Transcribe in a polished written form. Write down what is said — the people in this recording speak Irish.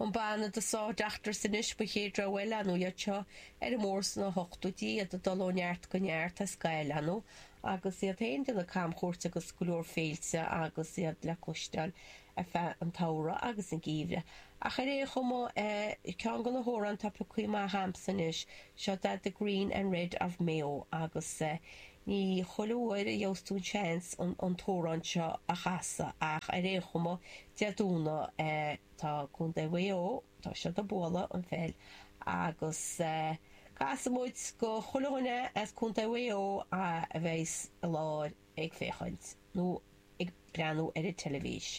An banna The Saw Doctors anois mo chéad rogha eile, ar ndóigh, iad seo ar an mbóthar sna hochtóidí, iad ag dul ó neart go neart as Gael, ar ndóigh, agus iad féin ag déanamh camchuairt agus go leor féilte agus iad le cloisteáil ar feadh an tsamhraidh agus an gheimhridh. Ach ar aon chuma, ceann de na hamhráin atá pioctha amach a'msa anois, seo The Green and Red of Mayo agus ní chuile uair a gheobhas tú an seans an t-amhrán seo a chasadh ach ar aon chuma, Dé Domhnaigh, tá Contae Mhaigh Eo, tá siad ag bualadh an pheil agus casfaidh muid go chuile dhuine as Contae Mhaigh Eo a bheas i láthair ag féachaint nó ag breathnú ar an teilifís.